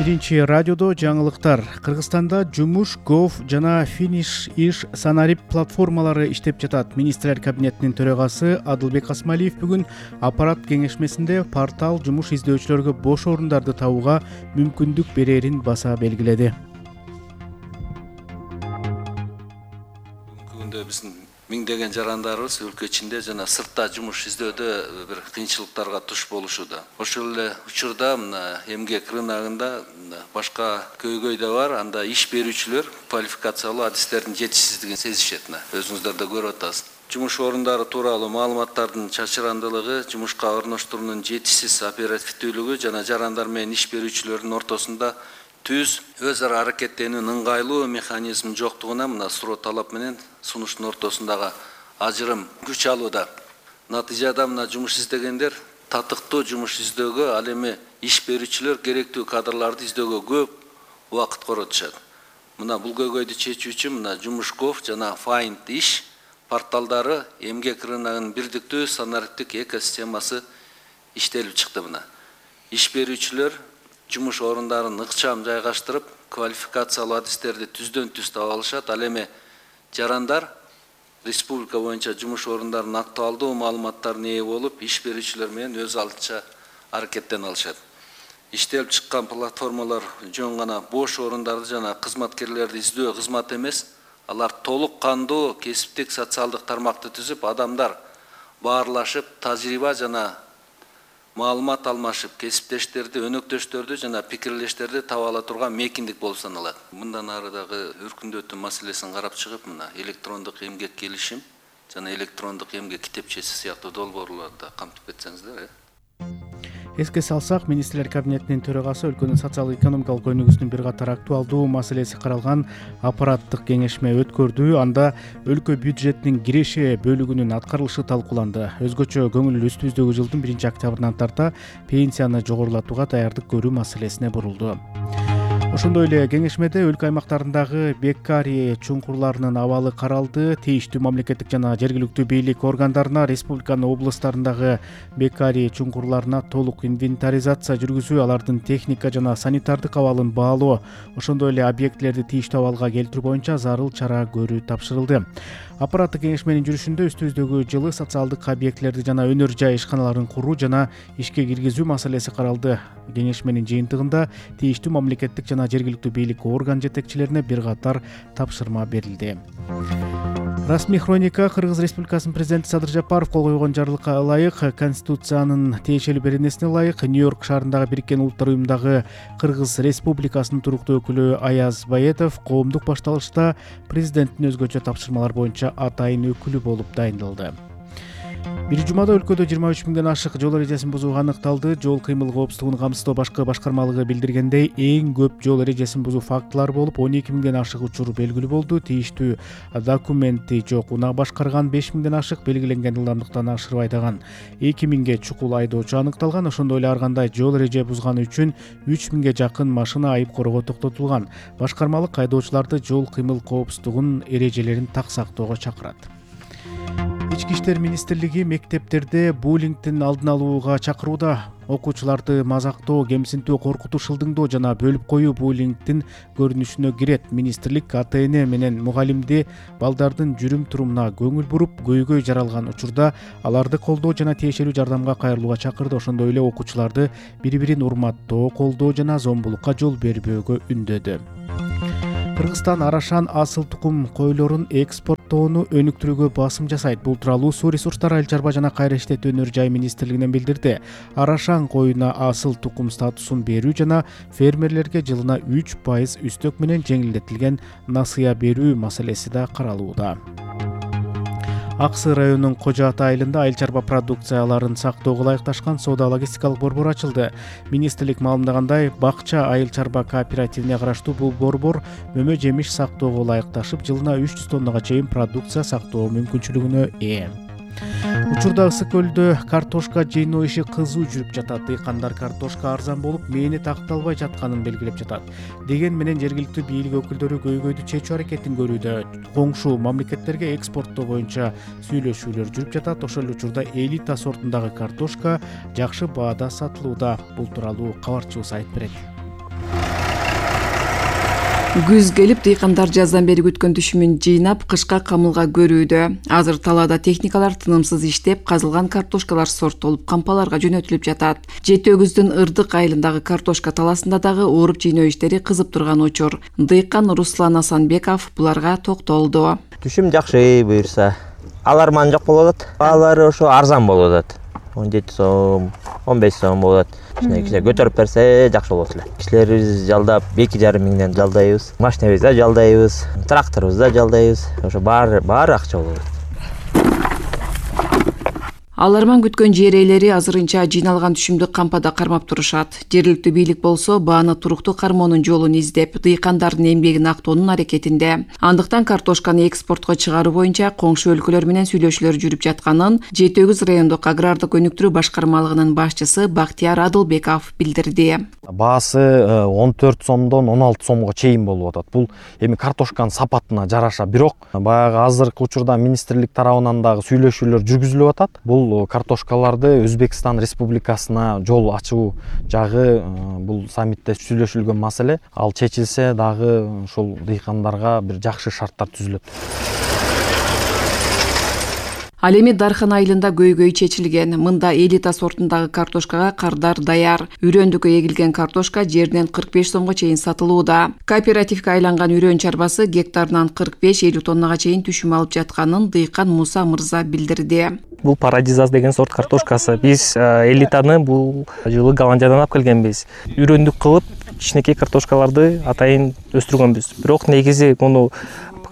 Биринчи радиодо жаңылыктар. Кыргызстанда жумуш, гов жана финиш иш санарип платформалары иштеп жатат. Министрлер кабинетинин төрагасы Адылбек Асмалиев бүгүн аппарат кеңешмесинде портал жумуш издөөчүлөргө бош орундарды табууга мүмкүндүк берерин баса белгиледи. Бүгүнкү күндө биздин миңдеген жарандарыбыз өлкө ичинде жана сыртта жумуш издөөдө бир кыйынчылыктарга туш болушууда. Ошол эле учурда мына эмгек рыногунда башка көйгөй да бар. Анда иш берүүчүлөр квалификациялуу адистердин жетишсиздигин сезишет. Өзүңүздөр да көрүп атасыз. Жумуш орундары тууралуу маалыматтардын чачырандылыгы, жумушка орноштуруунун жетишсиз оперативдүүлүгү жана жарандар менен иш берүүчүлөрдүн ортосунда түз өз ара аракеттенүүнүн ыңгайлуу механизмин жоктугуна мына суроо талап менен сунуштун ортосундагы ажырым күч алууда. Натыйжада мына жумуш издегендер татыктуу жумуш издөөгө, ал эми иш берүүчүлөр керектүү кадрларды издөөгө көп убакыт коротушат. Мына бул көйгөйдү чечүү үчүн мына жумуш.gov жана Find иш порталдары эмгек рыногунун бирдиктүү санариптик экосистемасы иштелип чыкты. Мына иш берүүчүлөр жумуш орундарын ыкчам жайгаштырып, квалификациялуу адистерди түздөн түз таба алышат. Ал эми жарандар республика боюнча жумуш орундарын актуалдуу маалыматтарына ээ болуп, иш берүүчүлөр менен өз алдынча аракеттене алышат. Иштелип чыккан платформалар жөн гана бош орундарды жана кызматкерлерди издөө кызмат эмес, алар толук кандуу кесиптик социалдык тармакты түзүп, адамдар баарлашып, тажрыйба жана маалымат алмашып, кесиптештерди, өнөктөштөрдү жана пикирлештерди таба ала турган мекиндик болуп саналат. Мындан ары дагы өркүндөтүү маселесин карап чыгып, мына электрондук эмгек келишим жана электрондук эмгек китепчеси сыяктуу долбоорлорду да камтып кетсеңиздер. Эске салсак, Министрлер кабинетинин төрагасы өлкөнүн социалдык-экономикалык өнүгүүсүнүн бир катар актуалдуу маселеси каралган аппараттык кеңешме өткөрдү. Анда өлкө бюджетинин киреше бөлүгүнүн аткарылышы талкууланды. Өзгөчө көңүл үстүбүздөгү жылдын 1-октябрынан тарта пенсияны жогорулатууга даярдык көрүү маселесине бурулду. Ошондой эле кеңешмеде өлкө аймактарындагы беккарий чуңкурларынын абалы каралды. Тийиштүү мамлекеттик жана жергиликтүү бийлик органдарына республиканын облустарындагы беккарий чуңкурларына толук инвентаризация жүргүзүү, алардын техника жана санитардык абалын баалоо, ошондой эле объектилерди тийиштүү абалга келтирүү боюнча зарыл чара көрүү тапшырылды. Аппараттык кеңешменин жүрүшүндө үстүбүздөгү жылы социалдык объектилерди жана өнөр жай ишканаларын куруу жана ишке киргизүү маселеси каралды. Кеңешменин жыйынтыгында тийиштүү мамлекеттик жана жергиликтүү бийлик орган жетекчилерине бир катар тапшырма берилди. Расмий хроника. Кыргыз Республикасынын президенти Садыр Жапаров кол койгон жарлыкка ылайык, Конституциянын тиешелүү беренесине ылайык, Нью-Йорк шаарындагы Бириккен Улуттар уюмундагы Кыргыз Республикасынын туруктуу өкүлү Аяз Баетов коомдук башталышта президенттин өзгөчө тапшырмалар боюнча атайын өкүлү болуп дайындалды. Бир жумада өлкөдө 23 миңден ашык жол эрежесин бузуу аныкталды. Жол кыймыл коопсуздугун камсыздоо башкы башкармалыгы билдиргендей, эң көп жол эрежесин бузуу фактылары болуп, 12 миңден ашык учур белгилүү болду. Тийиштүү документи жок унаа башкарган 5 миңден ашык, белгиленген ылдамдыктан ашырып айдаган 2 миңге чукул айдоочу аныкталган. Ошондой эле ар кандай жол эреже бузганы үчүн 3 миңге жакын машина айып короого токтотулган. Башкармалык айдоочуларды жол кыймыл коопсуздугунун эрежелерин так сактоого чакырат. Ички иштер министрлиги мектептерде буллингдин алдын алууга чакырууда. Окуучуларды мазактоо, кемсинтүү, коркутуу, шылдыңдоо жана бөлүп коюу буллингдин көрүнүшүнө кирет. Министрлик АТН менен мугалимди балдардын жүрүм-турумуна көңүл буруп, көйгөй жаралган учурда аларды колдоо жана тиешелүү жардамга кайрылууга чакырды. Ошондой эле окуучуларды бири-бирин урматтоо, колдоо жана зомбулукка жол бербөөгө үндөдү. Кыргызстан арашан асыл тукум койлорун экспорттоону өнүктүрүүгө басым жасайт. Бул тууралуу Суу ресурстары, айыл чарба жана кайра иштетүү өнөр жай министрлигинен билдирди. Арашан коюна асыл тукум статусун берүү жана фермерлерге жылына 3% үстөк менен жеңилдетилген насыя берүү маселеси да каралууда. Аксы районунун Кожо Ата айылында айыл чарба продукцияларын сактоого ылайыкташкан соода-логистикалык борбор ачылды. Министрлик маалымдагандай, Бакча айыл чарба кооперативине караштуу бул борбор мөмө жемиш сактоого ылайыкташып, жылына 300 тоннага чейин продукция сактоо мүмкүнчүлүгүнө ээ. Учурда Ысык көлдө картошка жыйноо иши кызуу жүрүп жатат. Дыйкандар картошка арзан болуп, мээнет акталбай жатканын белгилеп жатат. Деген менен жергиликтүү бийлик өкүлдөрү көйгөйдү чечүү аракетин көрүүдө. Коңшу мамлекеттерге экспорттоо боюнча сүйлөшүүлөр жүрүп жатат. Ошол учурда элита сортундагы картошка жакшы баада сатылууда. Бул тууралуу кабарчыбыз айтып берет. Күз келип, дыйкандар жаздан бери күткөн түшүмүн жыйнап, кышка камылга көрүүдө. Азыр талаада техникалар тынымсыз иштеп, казылган картошкалар сорттолуп, кампаларга жөнөтүлүп жатат. Жети өгүздүн Ырдык айылындагы картошка таласында дагы ооруп жыйноо иштери кызып турган учур. Дыйкан Руслан Асанбеков буларга токтолду. Түшүм жакшы буюрса. Аларман жок болуп атат. Баалары ошо арзан болуп атат. 17 сом, 15 сом болот. Кичине көтөрүп берсе жакшы болот эле. Кишилерибиз жалдап 2,5 миңден жалдайбыз. Машинабызды да жалдайбыз, тракторубузду да жалдайбыз. Ошо баары акча болот. Аларман күткөн жер ээлери азырынча жыйналган түшүмдү кампада кармап турушат. Жергиликтүү бийлик болсо бааны туруктуу кармоонун жолун издеп, дыйкандардын эмгегин актоонун аракетинде. Андыктан картошканы экспортко чыгаруу боюнча коңшу өлкөлөр менен сүйлөшүүлөр жүрүп жатканын Жети өгүз райондук агрардык өнүктүрүү башкармалыгынын башчысы Бактияр Адылбеков билдирди. Баасы 14 сомдон 16 сомго чейин болуп атат. Бул эми картошканын сапатына жараша. Бирок баягы азыркы учурда министрлик тарабынан дагы сүйлөшүүлөр жүргүзүлүп атат. Бул картошкаларды Өзбекстан Республикасына жол ачуу жагы бул саммитте сүйлөшүлгөн маселе. Ал чечилсе дагы ошол дыйкандарга бир жакшы шарттар түзүлөт. Ал эми Дархан айылында көйгөй чечилген. Мында элита сортундагы картошкага кардар даяр. Үрөндүккө эгилген картошка жерден 45 сомго чейин сатылууда. Кооперативге айланган үрөн чарбасы гектарынан 45-50 тоннага чейин түшүм алып жатканын дыйкан Муса мырза билдирди. Бул Парадизас деген сорт картошкасы. Биз элитаны бул жылы Голландиядан алып келгенбиз. Үрөндүк кылып кичинекей картошкаларды атайын өстүргөнбүз. Бирок негизи муну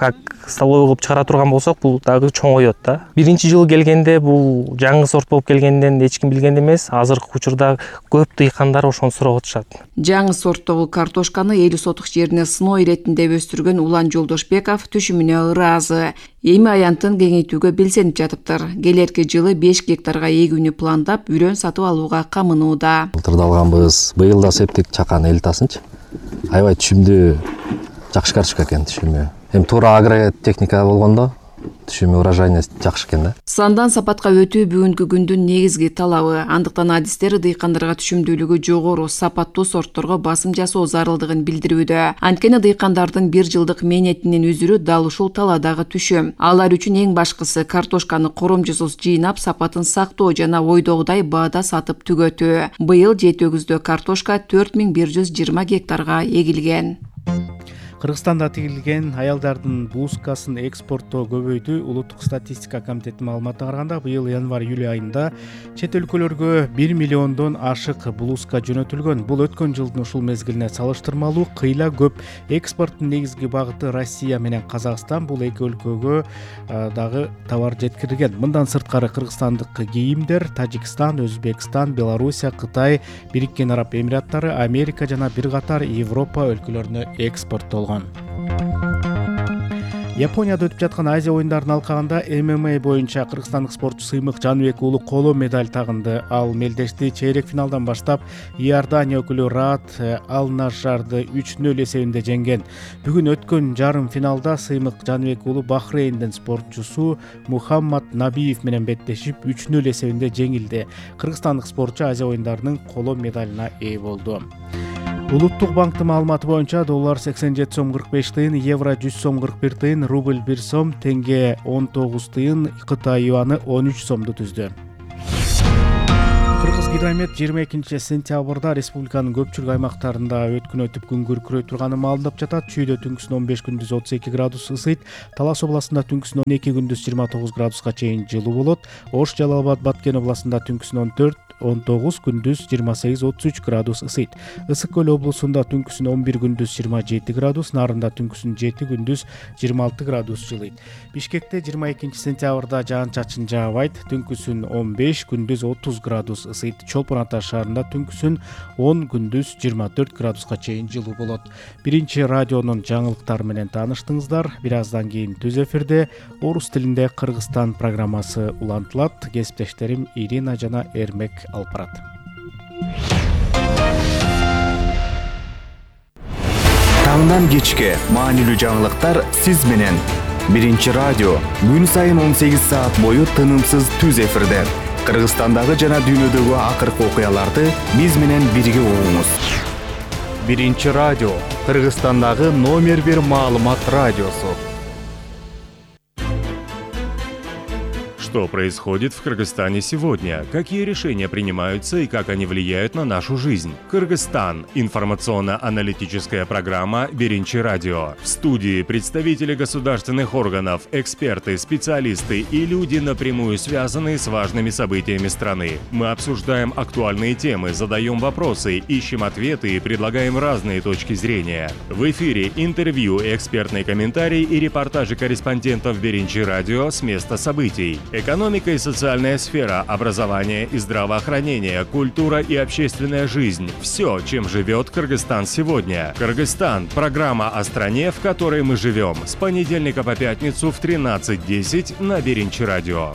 как столовый кылып чыгара турган болсок, бул дагы чоңоет да. Биринчи жылы келгенде бул жаңы сорт болуп келгенден эч ким билген эмес. Азыркы учурда көп дыйкандар ошону сурап атышат. Жаңы сорттогу картошканы 50 сотук жерине сыноо иретинде өстүргөн Улан Жолдошбеков түшүмүнө ыраазы. Эми аянтын кеңейтүүгө белсенип жатыптыр. Келерки жылы 5 гектарга эгүүнү пландап, үрөн сатып алууга камынууда. Былтырда алганбыз, быйыл да септик чакан элитасынчы. Аябай түшүмдүү, жакшы картошка экен түшүмү. Эми туура агротехника болгондо түшүмү урожайный жакшы экен да. Сандан сапатка өтүү бүгүнкү күндүн негизги талабы. Андыктан адистер дыйкандарга түшүмдүүлүгү жогору, сапаттуу сортторго басым жасоо зарылдыгын билдирүүдө. Анткени дыйкандардын бир жылдык мээнетинин үзүрү дал ушул таладагы түшүм. Алар үчүн эң башкысы картошканы коромжусуз жыйнап, сапатын сактоо жана ойдогудай баада сатып түгөтүү. Быйыл Жети өгүздө картошка 4120 гектарга эгилген. Кыргызстанда тигилген аялдардын блузкасын экспорттоо көбөйдү. Улуттук статистика комитетинин маалыматына караганда, быйыл январь-июль айында чет өлкөлөргө 1 миллиондон ашык блузка жөнөтүлгөн. Бул өткөн жылдын ушул мезгилине салыштырмалуу кыйла көп. Экспорттун негизги багыты Россия менен Казакстан. Бул эки өлкөгө дагы товар жеткирилген. Мындан сырткары кыргызстандык кийимдер Тажикстан, Өзбекстан, Белоруссия, Кытай, Бириккен Араб Эмираттары, Америка жана бир катар Европа өлкөлөрүнө экспорттолгон. Японияда өтүп жаткан Азия оюндарынын алкагында ММА боюнча кыргызстандык спортчу Сыймык Жаныбек уулу коло медаль тагынды. Ал мелдешти чейрек финалдан баштап Иордания өкүлү Раат Ал-Нажарды 3-0 эсебинде жеңген. Бүгүн өткөн жарым финалда Сыймык Жаныбек уулу Бахрейндин спортчусу Мухаммад Набиев менен беттешип 3-0 эсебинде жеңилди. Кыргызстандык спортчу Азия оюндарынын коло медалына ээ болду. Улуттук банктын маалыматы боюнча доллар 87 сом 45 тыйын, евро 100 сом 41 тыйын, рубль 1 сом, тенге 19 тыйын, Кытай юаны 13 сомду түздү. Кыргызгидромет 22 сентябрда республиканын көпчүлүк аймактарында өткүн өтүп күн күркүрөй турганын маалымдап жатат. Чүйдө түнкүсүн 15, күндүз 32 градус ысыйт. Талас областында түнкүсүн 12, күндүз 29 градуска чейин жылуу болот. Ош, Жалал Абад, Баткен областында түнкүсүн 14-19, күндүз 28-33 градус ысыйт. Ысык көл облусунда түнкүсүн 11, күндүз 27 градус, Нарында түнкүсүн 7, күндүз 26 градус жылыйт. Бишкекте 22 сентябрда жаан-чачын жаабайт, түнкүсүн 15, күндүз 30 градус ысыйт. Чолпон Ата шаарында түнкүсүн 10, күндүз 24 градуска чейин жылуу болот. Биринчи радионун жаңылыктары менен тааныштыңыздар. Бир аздан кийин түз эфирде орус тилинде Кыргызстан программасы улантылат. Кесиптештерим Ирина жана Эрмек алып барат. Таңдан кечке маанилүү жаңылыктар сиз менен. Биринчи радио күн сайын 18 саат бою тынымсыз түз эфирде. Кыргызстандагы жана дүйнөдөгү акыркы окуяларды биз менен бирге угуңуз. Биринчи радио, Кыргызстандагы номер 1 маалымат радиосу. Что происходит в Кыргызстане сегодня? Какие решения принимаются и как они влияют на нашу жизнь? Кыргызстан. Информационно-аналитическая программа «Биринчи радио». В студии представители государственных органов, эксперты, специалисты и люди, напрямую связанные с важными событиями страны. Мы обсуждаем актуальные темы, задаем вопросы, ищем ответы и предлагаем разные точки зрения. В эфире интервью, экспертные комментарии и репортажи корреспондентов «Биринчи радио» с места событий. Экономика и социальная сфера, образование и здравоохранение, культура и общественная жизнь – все, чем живет Кыргызстан сегодня. Кыргызстан – программа о стране, в которой мы живем. С понедельника по пятницу в 13:10 на Биринчи радио.